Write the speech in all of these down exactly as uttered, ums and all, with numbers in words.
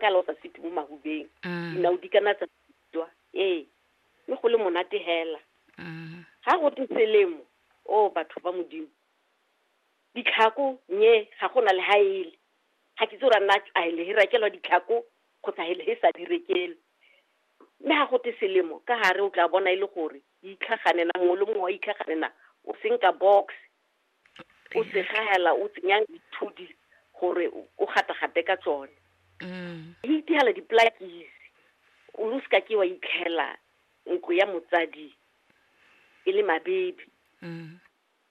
Ka la o sa sete mo mahubeng. Mm. Dinao di kana tsa tswa. Ee, mme go le monate hela. Mm. Ga go te selemo, o batho ba Modimo. Ditlhako nye ga gona le ha ele. Ga ke itse gore a nna a le he rekelwa ditlhako kgotsa he le he sa di rekelwe. Mme ga go te selemo ka gare o tla bona e le gore di itlhaganela, mongwe le mongwe wa itlhaganela, o senka box, o segela, o tsenya dithudi gore o gata-gate ka tsone. Mm. E itigela diplakisi, o lo seka ke wa itlhela ntlo ya motsadi e le mabebe, Mm.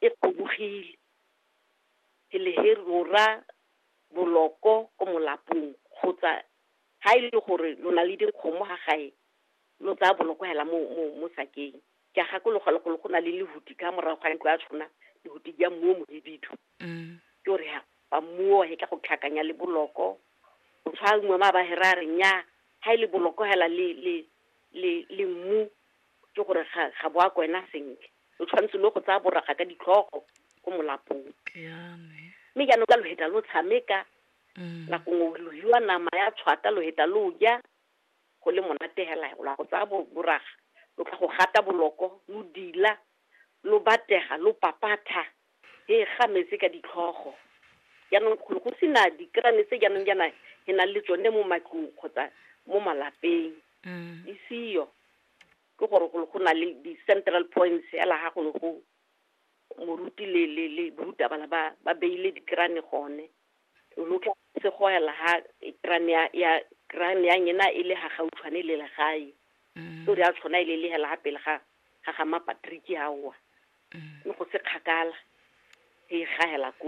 e kgobogile. Hele he rora boloko ko molapong, kgotsa ha e le gore lo na le dikgomo ga gae, lo tsaya boloko hela mo, mo, mo sakeng. Ke a gakologelwa gore go na le lehuti ka morago ga ntlo ya tshona, lehuti ja mmu o mohibidu. Mm. Ke gore ha ba mmuo he ka go tlhakanya le boloko. O tshwara ma ba hera re nya ha ile boloko hela le le le le mmu, ke gore ga ga bo a kwena sentle. O tshwanetse lo go tsaya boraga ka ditlhogo ko molapong. Ya ne. Mme jaanong ka lo heta lo tshameka, Mm. nako nngwe lo hiwa nama ya tshwata, lo heta lo ja, go le monate hela, lo go tsaya bo-, boraga, lo tla go gata boloko, lo dila, lo batega, lo papatha, he ga metsi ka ditlhogo. Jaanong go go sena dikrane tse jaanong jaana he nang le tsone mo matlong kgotsa mo malapeng. Mm. Di seo. Ke gore go go na le di-central points hela ha go le go moruti le, le, le borutabana ba, ba beile dikrane gone. Lo tla se go ela ha krane ya, ya, krane ya nyena e le ha gautshwane le legae. Mm. Ke gore ya tshwana e le le hela ha pele ga, ga ga Mapatrick ha oa. Mm. Mme go se kgakala, e gahela koo.